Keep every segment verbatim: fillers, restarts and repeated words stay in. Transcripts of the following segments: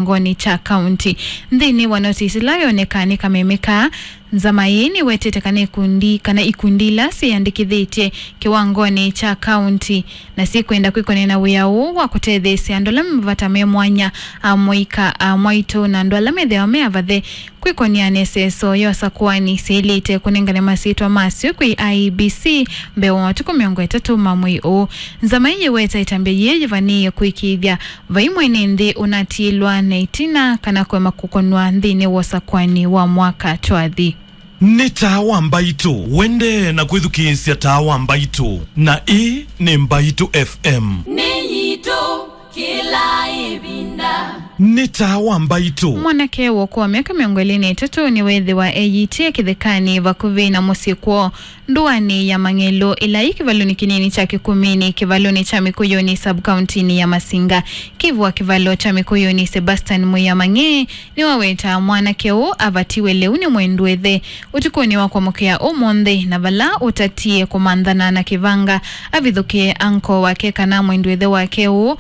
kĩwangonĩ kya kaunti. Nthĩnĩ wa notisi ĩla yonekaa nĩ kameme kaa, nzama ĩĩ nĩwetete kana ikundi, kana ikundi ila syĩyandĩkĩthĩtye kĩwangonĩ kya kaunti na syĩkwenda kwĩkonĩa na wĩa ũũ wa kũtetheesya andũ ala me mavata me mwanya, amũika, amwaitũ na andũ ala methĩawa me avathe kwĩkonĩa na ĩseso ya ũsakũani syĩlĩte kũnengane masyĩtwa masyo kwĩ I E B C mbee wa matukũ mĩongo ĩtatũ ma mwei ũũ. Nzama ĩĩ yĩweta ĩtambya yĩĩ yĩvanĩĩe kũĩkĩĩthya vai mwene nthĩ ũnatiĩlwa na ĩtina kana kũema kũkonwa nthĩnĩ wa ũsakũani wa mwaka twathi. Nĩ Taa wa Mbaitũ. Wendee na kwĩthukĩĩsya Taa wa Mbaitũ, na ĩĩ nĩ Mbaitũ F M. Nĩ yitũ kĩla ĩvinda. Nĩ Taa wa Mbaitũ. Mwanake wa ũkũũ wa myaka mĩongo ĩlĩ na ĩtatũ nĩweethĩwa eyĩtĩe kĩthekanĩ vakuvĩ na mũsyĩ kwoo, ndũanĩ ya Mang'elũ, ĩla yĩ kĩvalonĩ kĩnini kya Kĩkumĩnĩ, kĩvalonĩ kya Mĩkũyũnĩ, sub-kauntinĩ ya Masinga. Kĩvu wa kĩvalo kya Mĩkũyũnĩ, Sebastian Mwĩamang'e, nĩwawetaa mwanake ũũ avatiwe lĩu nĩ mwendwethe ũtukũnĩ wa kwamũkĩa ũmũnthĩ, na vala ũtatie kũmanthana na kĩvanga, avithũkĩe anko wake kana mwendwethe wake ũũ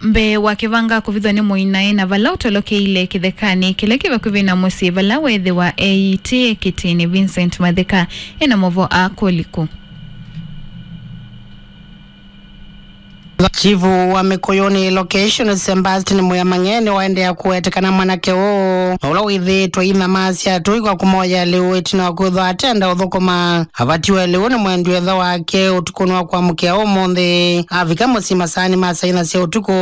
mbee wa kĩvanga kũvithwa nĩ mũinae, na vala ũtolokeile kĩthekanĩ kĩla kĩ vakuvĩ na mũsyĩ vala weethĩwa eyĩtĩe kĩtĩnĩ. Vincent Matheka ena maũvoo aa kũliku. Chifu wa Mĩkũyũnĩ location, Sebastian Mwĩamang'e, nĩwaendeea kũweta kana mwanake ũũ, na ũla wĩthĩĩtwe inyamasya tũi kwa kũmoya lĩu ĩtina wa kwĩthwa atenda ũthũkũma, avatiwe lĩu nĩ mwendwethe wake ũtukũnĩ wa kwamũkĩa ũmũnthĩ. Avika mũsyĩ masaanĩ ma saa inya sya ũtukũ,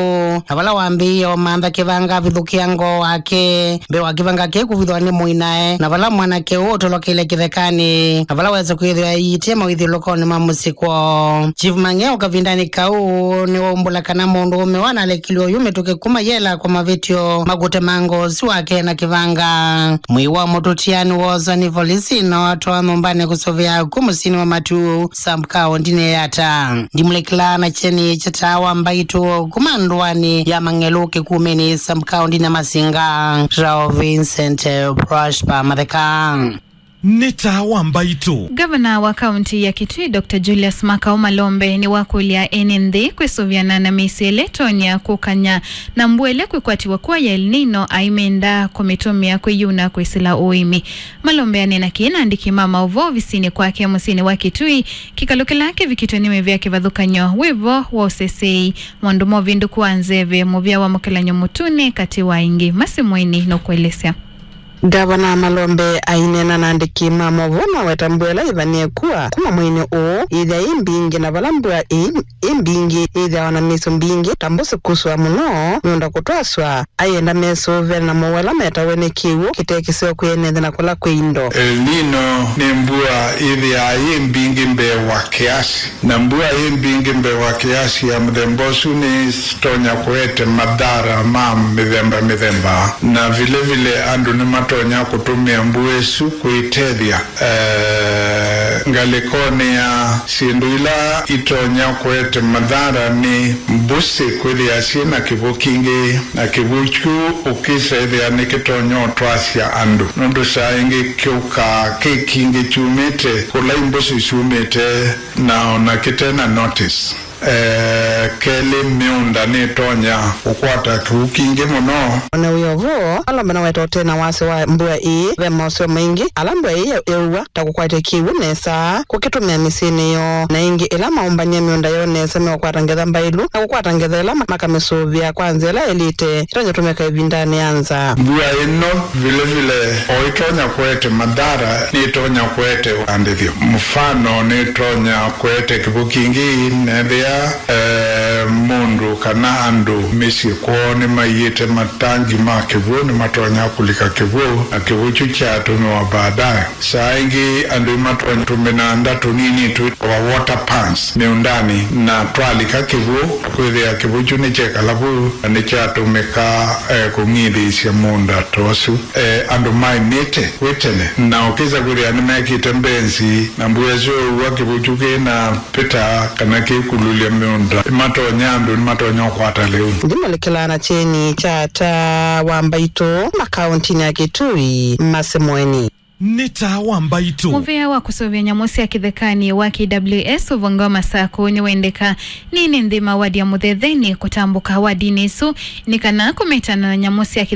na vala wambĩĩe ũmantha kĩvanga avithũkĩa ngoo wake, mbee wa kĩvanga kĩu kũvithwa nĩ mũinae, na vala mwanake ũũ ũtolokeile kĩthekanĩ, na vala wesa kwĩthĩwa eyĩtĩe mawĩthyũlũkonĩ ma mũsyĩ kwoo. Chief Mang'e o kavindanĩ kau nĩwaumbũla kana mũndũũme ũũ analekilwe oyu mĩtũkĩ kuma yela kwa mavĩtyo ma kũtemanga ũsu wake na kĩvanga. Mwĩĩ wa mũtũtia nĩwoosa nĩ volisi na watwawa nyũmbanĩ kũsũvĩa kũ mũsyĩnĩ wa Matuu, sub-kaũntinĩ ya Yatta. Ndimũlĩkĩlaa na kyeni kya Taa wa Mbaitũ kuma ndũanĩ ya Mang'elũ Kĩkumĩnĩ, sub-kaũntinĩ ya Masinga, Rao Vincent Prosper Matheka. Nĩ Taa wa Mbaitũ. Ngavana wa kaunti ya Kitui, Doctor Julius Makau Malombe, nĩwakũlya ene nthĩ kwĩsũvĩana na mĩisyo ĩla ĩtonya kũkany'a na mbua ĩla kwĩkwatiwa kwa ya El Nino, aimenda kũmĩtũmĩa kwĩyuna kwĩsĩla ũĩmi. Malombe aneena kĩĩ na andĩki ma maũvoo ovisinĩ kwake mũsyĩnĩ wa Kitui, kĩkalo kĩla kĩvikĩtwe nĩ mĩvĩa kĩvathũkany'o wĩvo wa ũseseei, maũndũ ma ũvĩndũku wa nzeve, mũvĩa wa mũkelany'o mũtune, katĩ wa ingĩ. Masi Mweni nũkũelesya. Ngavana Malombe aineena na andĩki ma maũvoo na weta mbua ĩla yĩvanĩe kua kuma mweinĩ ũũ yĩthĩa yĩ mbingĩ, na vala mbua ĩ, ĩ mbingĩ yĩthĩawa na mĩisyo mbingĩ ta mbũsĩ kusũa mũno, mĩũnda kũtwaswa, ayenda mesũvĩane na mowau ala metawe nĩ kĩw'ũ kĩte kĩseo kwĩ ene nthĩ na kũla kwĩ indo. El Nino nĩ mbua yĩthĩaa yĩ mbingĩ mbee wa kĩasi. Na mbua yĩ mbingĩ mbee wa kĩasi ya mũthemba ũsu nĩtonya kũete mathara ma mĩthemba mĩthemba, na vile vile andũ nĩmatonya kũtũmĩa mbua ĩsu kwĩtethya, eh, ngalĩkonĩ ya syĩndũ ila itonya kũete mathara nĩ mbũsĩ kwĩthĩa syĩ na kĩw'ũ kingĩ, na kĩw'ũ kyu ũkĩsa ĩthĩa nĩkĩtonya ũtwasya andũ, nũndũ saa ĩngĩ kĩũkaa kĩ kingĩ kyumĩte kũla imbũsĩ syumĩte na ona kĩte na notice. Eh, kelĩ, mĩũnda nĩtonya kũkwata kĩw'ũ kingĩ mũno. Ona wĩ o vo, Malombe naweta ũtena wasya wa mbua ĩĩ, ve moseo maingĩ ala mbua ĩĩ yeũw'a ta kũkwatya kĩw'ũ nesa, kũkĩtũmĩa mĩsyĩnĩ yoo, na ĩngĩ ĩla maũmbany'a mĩũnda yoo nesa meũkwata ngetha mbaĩlu na kũkwata ngetha ĩla ma-, makamĩsũvĩa kwa nzĩa ĩla yaĩlĩte ĩtonya tũmĩka ĩvindanĩ ya nza. Mbua ĩno vile vile o ĩtonya kũete mathara, nĩtonya kũete ũandĩthyo. Mũfano, nĩtonya kũete kĩw'ũ kingĩ nethĩa, eh, mũndũ kana andũ mĩsyĩ kwoo nĩmaiĩte matangi ma kĩw'ũ, nĩmatonya kũlika kĩw'ũ, na kĩw'ũ kyu kyatũmĩwa baadaye. Saa ĩngĩ andũ nĩmatonya tũmĩnanda tũnini twĩtawa water pans mĩũndanĩ, na twalika kĩw'ũ, kwĩthĩa kĩw'ũ kyu nĩkyekala vau na nĩkyatũmĩka, eh, kũng'ithĩĩsya mũũnda ta ũsu. Eh, andũ maĩmĩte kwĩ tene, na ũkĩsa kwĩthĩa nĩmekĩte mbenzi, na mbua ĩsu yaũw'a kĩw'ũ kyu kĩ na pita kana kĩkululya mĩũnda, nĩmatonya, andũ nĩmatonya ũkwata lĩu. Ndimũlĩkĩlaa na kyeni kya Taa wa Mbaitũ makaũntinĩ ya Kitui, Masi Mweni. Nĩ taa wa mbaitũ. Mũvĩa wa kũsũvĩa nyamũ sya kĩthekanĩ wa K W S ũvonge wa Masakũ nĩwendeka nini nthĩ ma wadi ya Mũthetheni kũtambũka wadinĩ ĩsu nĩ kana kũmetana na nyamũ sya kĩthekanĩ